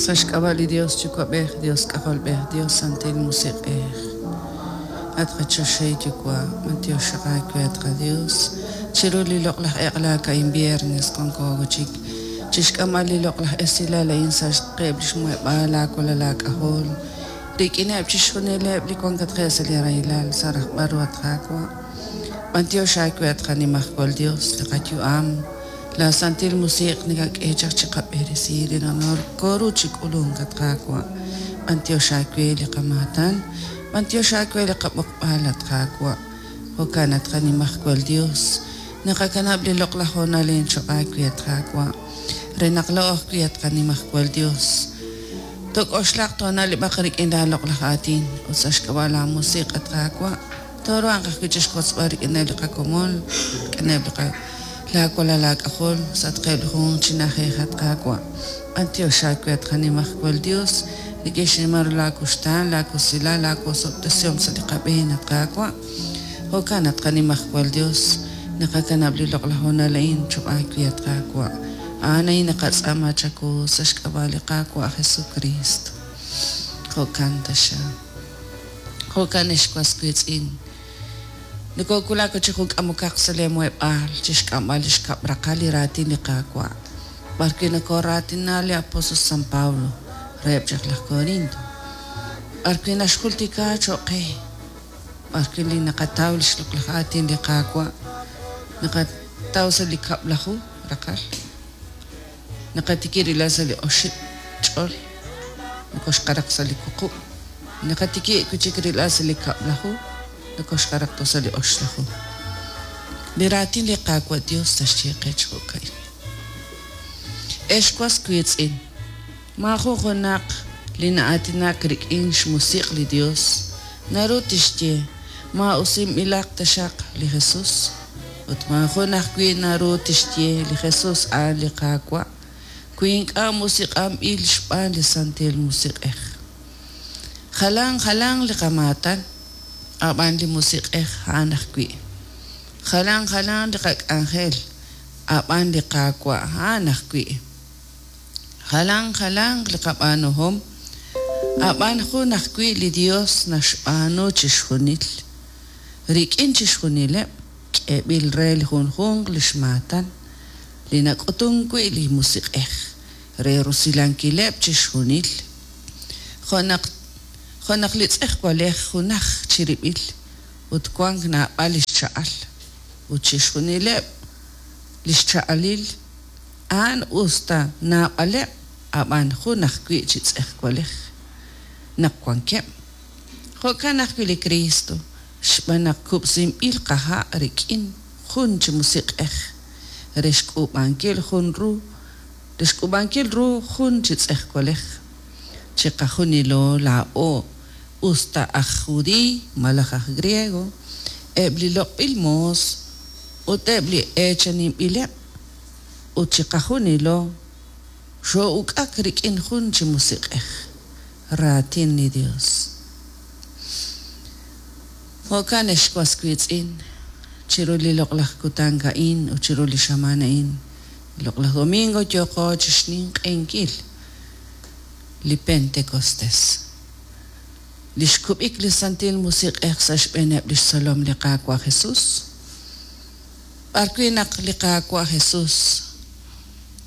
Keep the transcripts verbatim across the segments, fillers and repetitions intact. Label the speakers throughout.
Speaker 1: Sa' xk'ab'a' li Dios Yuwa'b'ej, Dios K'ajolb'ej, Dios Santil Musiq'ej. At qaChoxahil Yuwa', b'antiox aawe at qaDios, chiru li loq'laj eq'la ka'in viernes wanko chik chixk'amb'al li loq'laj esilal a'in sa' xqeb' li xmuheb'aal laawalal aak'ajol, rik'ineb' chixjunileb' li wankatqeb' sa' li rahilal sa' rajb'al ru at Qaawa'. B'antiox aawe at qanimajwal Dios, li qayu'am, la Santil Musiq' nakak'e chaq chiqab'eresi li koru chi k'ulunk at Qaawa'. B'antiox aawe li qamaatan, b'antiox aawe li qab'oqb'al at Qaawa'. Jo'kan at qanimajwal Dios, naqakanab' li loq'laj hoonal choq' aawe at Qaawa'. Re naq la'o ajwi' at qanimajwal Dios. Tok'oxlaq toona'leb'aq rik'in la loq'laj aatin ut sa' xk'ab'a' la musiq' at Qaawa'. Toruhanq ajwi' chixwotzb'al rik'ineb' li qakomon, rik'ineb' li qa laawalal aak'ajol sa' tqeb' li junjunq chi na'ajej at Qaawa'. B'antiox aawe at qanimajwal Dios, rik'in xnimal ru laakuxtaan, laakusilal, laawosob'tesihom sa' li qab'een at Qaawa'. Jo'kan at qanimajwal Dios, naqakanab' li loq'laj hoonal a'in choq' aawe at Qaawa'. A'an a'in naqatz'aama chawu sa' xk'ab'a' li Qaawa' Jesucristo. Jo'kan taxa. Jo'kan ex was wiitz'in. Nokowulak chi jun k'amokaq sa' li muheb'aal chixk'amb'al li xkab' raqal li raatin li Qaawa'. B'arwi' nokoraatina li apóstol San Pablo reheb' chaq laj Corinto. B'arwi' naxjultika choq' qe. B'arwi' li naqataw li xloq'laj aatin li Qaawa'. Naqataw sa' li kab'laju raqal. Naqatiki rila sa' li oxib' ch'ol. Nokoxqaraq sa' li wuqub'. Naqatiki kuchik rila sa' li kab'laju. Nokoxqaraq to sa' li oxlaju. Li raatin li Qaawa' Dios taxye qe chi jo'ka'in. Ex was wiitz'in, maajun junaq li na'aatinak rik'in xmusiq' li Dios naru tixye maa'usinb'ilaq taxaq li Jesus, ut maajun ajwi' naru tixye li Jesus a'an li Qaawa' wi ink'a' musiq'anb'il xb'aan li Santil Musiq'ej. Jalan jalan li qamaatan, ab'an li musiq'ej a'an ajwi'. Jalan jalan li qak'anjel, ab'an li Qaawa' a'an ajwi'. Jalan jalan li qab'aanuhom, ab'an jun ajwi' li Dios naxb'aanu chixjunil. Rik'in chixjunileb' k'eeb'il re li junjunq li xmaatan, li nak'utun wi' li musiq'ej re rusilankileb' chixjunil. Jo' naq jo' naq li tz'ejwalej junaj chirib'il ut wank naab'al li xcha'al ut chixjunileb' li xcha'alil a'an us ta naab'aleb' ab'an jun ajwi' chi tz'ejwalej naq wankeb'. Jo'kan ajwi' li Cristo xb'aan naq kub'sinb'il qaha' rik'in jun chi musiq'ej re xk'uub'ankil jun ru re xk'uub'ankil ru jun chi tz'ejwalej. Chiqajunilo laa'o us ta aj judiiy malaj aj griego, eb' li loq'b'il moos ut eb' li eechaninb'ileb' ut chiqajunilo xoo'uk'ak rik'in jun chi musiq'ej, raatin li Dios. Jo'kan ex was wiitz'in, chiru li loq'laj kutan a'in ut chiru li xamaan a'in, loq'laj domingo yooqo chixninq'ehinkil li Pentecostés. Li xkub'ik li Santil Musiq'ej sa' xb'eeneb' li xtzolom li Qaawa' Jesus. B'arwi' naq li Qaawa' Jesus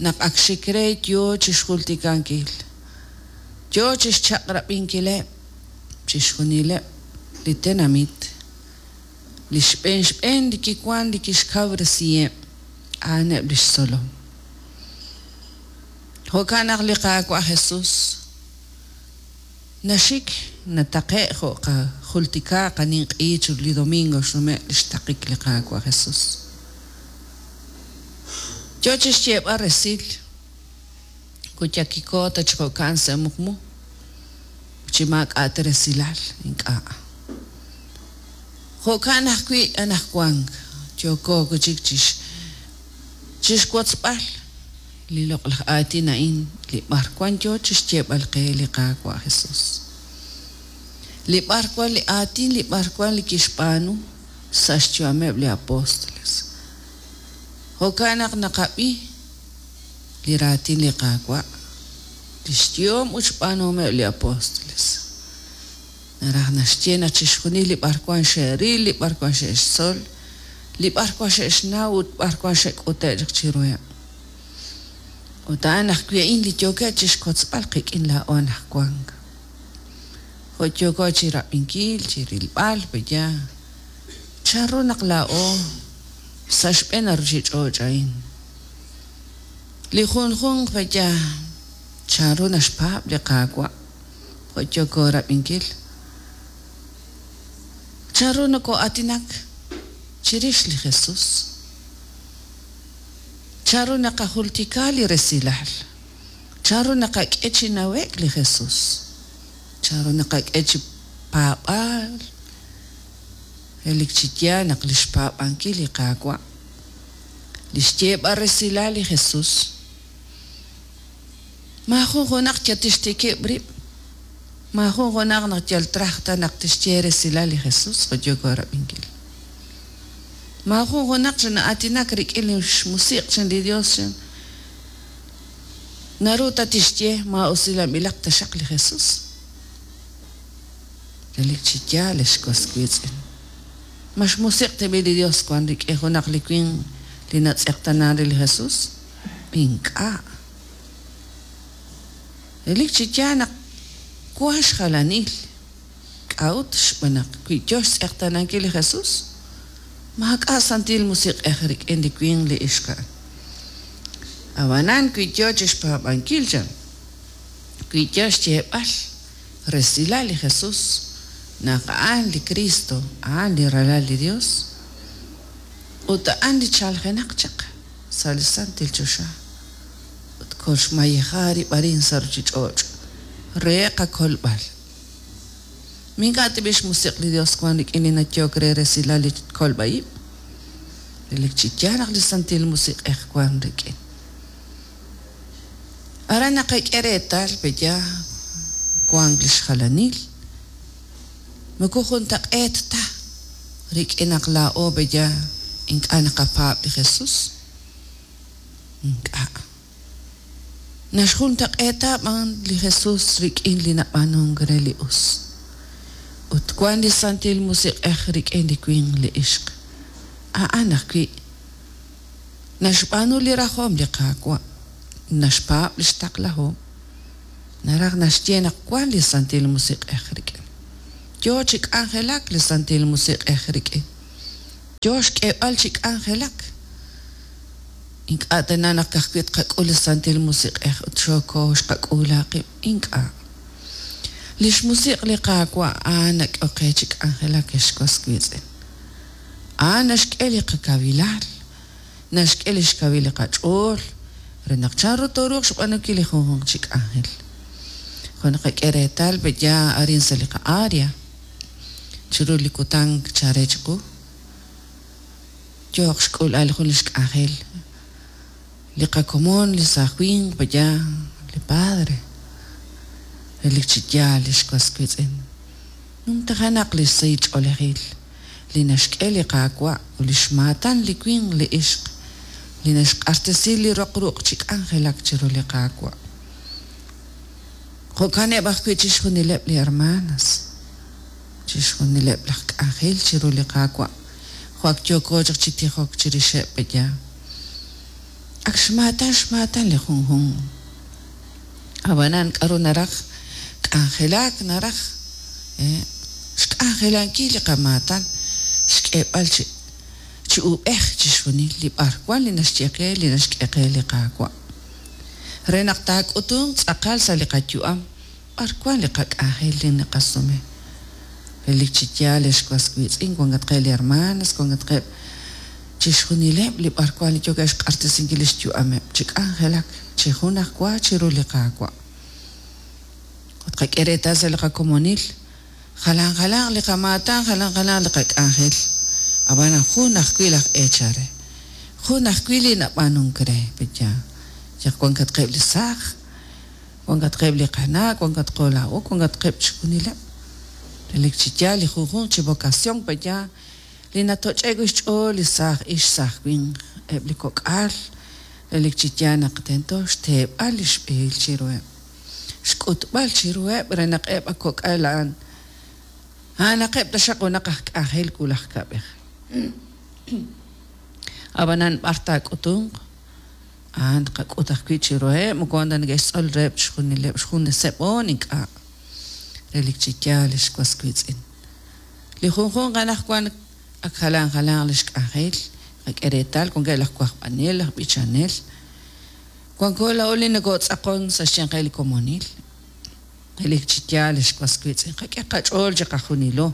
Speaker 1: naq ak xik re yoo chixjultikankil, yoo chixchaq'rab'inkileb' chixjunileb' li tenamit, li xb'een xb'een li kiwan li kixkawresiheb' a'aneb' li xtzolom. Jo'kan naq li Qaawa' Jesus naxik nataqe' jo' qajultika qaninq'i chiru li domingo xnume' li xtaqik li Qaawa' Jesus. Yoo chixyeeb'al resil kuyakiko ta chi jo'kan sa' muqmu chi maak'a' ta resilal ink'a'. Jo'kan ajwi' anaqwan yooko chik chix chixwotzb'al li loq'laj aatin a'in li b'arwan yoo chixyeeb'al qe li Qaawa' Jesus. Li b'arwan li aatin li b'arwan li kixb'aanu sa' xyu'ameb' li apóstoles. Jo'kan naq naqab'i li raatin li Qaawa' Li xyehom ut xb'aanuhomeb' li apóstoles. Naraj naxye naq chixjunil li b'arwan xe'ril, li b'arwan xe'xtzol, li b'arwan xe'xnaw ut b'arwan xe'k'ute' chaq chiruheb'. Ut a'an ajwi' a'in li yookeb' chixkotzb'al qik'in laa'o anaqwan. Jo' yooko chirab'inkil, chirilb'al, peya chanru naq laa'o sa' xb'een ruchich'och' a'in. Li junjunq peya chanru naxpaab' li Qaawa' jo' yooko rab'inkil. Chanru noko'aatinak chirix li Jesús. Chanru naqajultika li resilal. Chanru naqak'e chi nawe'k li Jesús. Chanru naqak'e chi paab'aal. Relik chi yaal naq li xpaab'ankil li Qaawa'. Li xyeeb'al resilal li Jesús. Maajun junaq yal tixtikib' rib'. Maajun junaq naq yal traj ta naq tixye resilal li Jesús jo' yooko rab'inkil. Maajun junaq chi na'aatinak rik'in li xmusiq' chan li Dios chan. Naru ta tixye maa'usilanb'ilaq taxaq li Jesús. Relik chi yaal ex was wiitz'in. Ma xmusiq' tab'i li Dios wan rik'in junaq li winq li natz'eqtanan re li Jesús? Ink'a'. Relik chi yaal naq wan xjalanil. K'a'ut xb'aan naq wi yo xtz'eqtanankil li Jesús? Maak'a' santil musiq'ej rik'in li winq li ixq a'an. Ab'anan wi yo chixpaab'ankil chan, wi yo xyeeb'al resilal li Jesús naq a'an li Cristo, a'an li Ralal li Dios, ut a'an li chaljenaq chaq sa' li santil choxa ut kolxmayeja rib' arin sa' ruchich'och' re qakolb'al. Mink'a' tib'i xmusiq' li Dios wan rik'in li nayok re resilal li kolb'a'ib'. Relik chi yaal naq li santil musiq'ej wan rik'in. Aran naqak'e reetal peya wank li xjalanil. Moko juntaq'eet ta rik'in naq laa'o peya ink'a' naqapaab' li Jesús. Ink'a'. Naxjuntaq'eeta b'an li Jesús rik'in li nab'aanunk re li us. Ut wan li santil musiq'ej rik'in li winq li ixq. A'an ajwi' naxb'aanu li rajom li Qaawa'. Naxpaab' li xtaqlahom. Naraj naxye naq wan li santil musiq'ej rik'in. Yo chi k'anjelak li santil musiq'ej rik'in. Yo xk'eeb'al chi k'anjelak. Ink'a' tana naq kajwi' tqak'ul li santil musiq'ej ut xoko xqak'uula qib'. Ink'a'. Li xmusiq' li Qaawa' a'an nak'ok qe chi k'anjelak ex was wiitz'in. A'an naxk'e li qakawilal, naxk'e li xkawil li qach'ool re naq chanru tooruuq xb'aanunkil li junjunq chi k'anjel. Jo' naqak'e reetal peya arin sa' li qa'área chiru li kutan chare chiqu. Yooq xk'ulal jun li xk'anjel. Li qakomon, li saaj winq peya, li padre. Relik chi yaal li xwas wiitz'in. Numtajenaq li sahil ch'oolejil li naxk'e li Qaawa' ut li xmaatan li winq li ixq li naxq'axtesi li roq ruq' chi k'anjelak chiru li Qaawa'. Jo'kaneb' ajwi' chixjunileb' li hermanas, chixjunileb' laj k'anjel chiru li Qaawa'. Jo' ak yooko chaq chi tijok chirixeb' peya. Ak xmaatan xmaatan li junjunq. Ab'anan k'aru naraj k'anjelak naraj eh, xk'anjelankil li qamaatan xk'eeb'al chi chi ub'ej chixjunil li b'arwan li naxye qe li naxk'e qe li Qaawa'. Re naq taak'utunq tz'aqal sa' li qayu'am b'arwan li qak'anjel li naqasume. Relik chi yaal ex was wiitz'in wankatqeb' li hermanas, wankatqeb' chixjunileb' li b'arwan li yookeb' xq'axtesinkil li xyu'ameb' chi k'anjelak chi junajwa chiru li Qaawa'. Ut qak'e reetal sa' li qakomonil jalan jalan li qamaatan, jalan jalan li qak'anjel. Ab'anan jun ajwi' laj eechal re. Jun ajwi' li nab'aanunk re, peya. Yaq wankatqeb' li saaj, wankatqeb' li qana', wankatqo laa'o, wankatqeb' chixjunileb'. Relik chi yaal li junjunq chi vocación peya li natoch'ek wi' xch'ool li saaj ix saaj winq, eb' li kok'al, relik chi yaal naq tento xteeb'al li xb'ehil chiruheb'. Xk'utb'al chiruheb' re naq eb' a kok'al a'an a'anaqeb' taxaq junaq aj k'anjel wulaj kab'ej. Ab'anan b'ar taak'utunq a'an tqak'ut ajwi' chiruheb', moko wan ta neke'xtzol reheb' chixjunileb' xjuneseb' oon ink'a'. Relik chi yaal, ex was wiitz'in. Li junjunq anaqwan ak jalan jalanq li xk'anjel, qak'e reetal wankeb' laj wajb'anel, laj b'ichanel. Wanko laa'o li nokotz'aqon sa' xyanqeb' li komonil. Relik chi yaal, ex was wiitz'in, qak'e qach'ool chiqajunilo.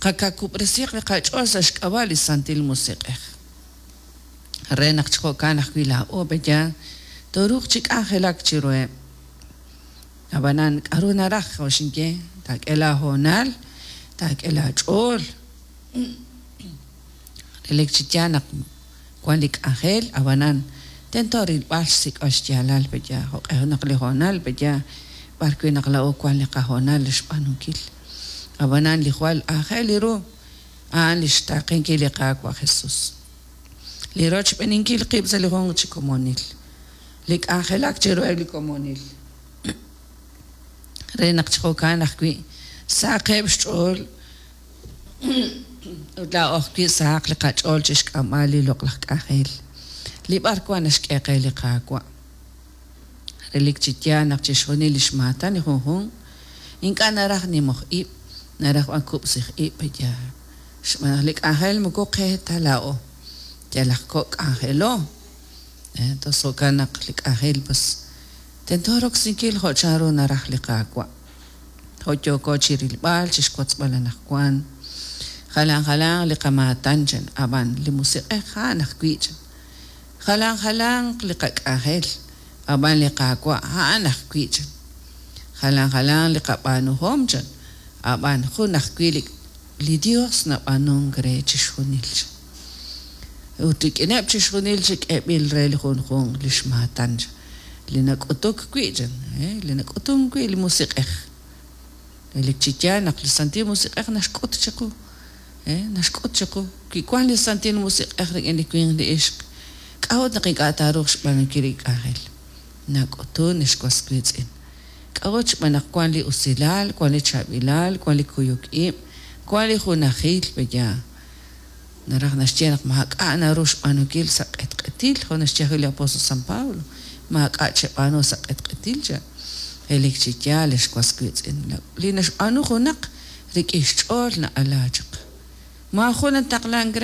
Speaker 1: Qakakub'resiq li qach'ool sa' xk'ab'a' li Santil Musiq'ej. Re naq chi jo'kan ajwi' laa'o pe'yaal tooruuq chi k'anjelak chiruheb'. Ab'anan k'aru naraj jo' xinye, taak'e laahoonal, taak'e laach'ool. Relik chi yaal naq wan li k'anjel, ab'anan tento rilb'al xsik'b'al xyaalal pe'yaal jo'q'e naq li hoonal pe'yaal b'ar wi' naq laa'o wan li qahoonal re xb'aanunkil. Ab'anan li jwal aajel ru a'an li xtaaqenkil li Qaawa' Jesus. Li rochb'eeninkil qib' sa' li junq chi komonil. Li k'anjelak chiruheb' li komonil. Re naq chi jo'kan ajwi' sahaqeb' xch'ool ut laa'o ajwi' sahaq li qach'ool chi xk'amb'al li loq'laj k'anjel. Li b'ar wan naxk'e qe li Qaawa'. Relik chi yaal naq chixjunil li xmaatan li junjunq ink'a' naraj nimoj ib', naraj b'an kub'sij ib' pe'yaal. Xb'aan naq li k'anjel moko qe ta laa'o. Yal aj kok' k'anjelo. Entonces jo'kan naq li k'anjel pues tento roksinkil jo' chanru naraj li Qaawa'. Jo' yooko chi rilb'al, chi xwotzb'al anaqwan. Jalan jalanq li qamaatan chan, ab'an li Musiq'ej a'an ajwi' chan. Jalan jalanq li qak'anjel, ab'an li Qaawa' a'an ajwi' chan. Jalan jalanq li qab'aanuhom chan, ab'an jun ajwi' li li Dios nab'aanunk re chixjunil chan. Ut rik'ineb' chixjunil chi k'eeb'il re li junjunq li xmaatan chan. Li nak'utuk wi' chan, li nak'utunk wi' li Musiq'ej. Relik chi yaal naq li Santil Musiq'ej naxk'ut chiqu, naxk'ut chiqu. Wi wan li Santil Musiq'ej rik'in li winq li ixq, k'a'ut naq ink'a' taaruuq xb'aanunkil li k'anjel? Nak'utun, ex was wiitz'in. K'a'ut xb'aan naq wan li usilal, wan li chaab'ilal, wan li kuyuk ib', wan li junajil pe'yaal. Naraj naxye naq maak'a' naru xb'aanunkil sa' q'etq'etil, jo' naxye ajwi' li apóstol San Pablo, maak'a' cheb'aanu sa' q'etq'etil chan. Relik chi yaal, ex was wiitz'in, li naxb'aanu junaq rik'in xch'ool na'ala chaq. Maajun nataqlank re.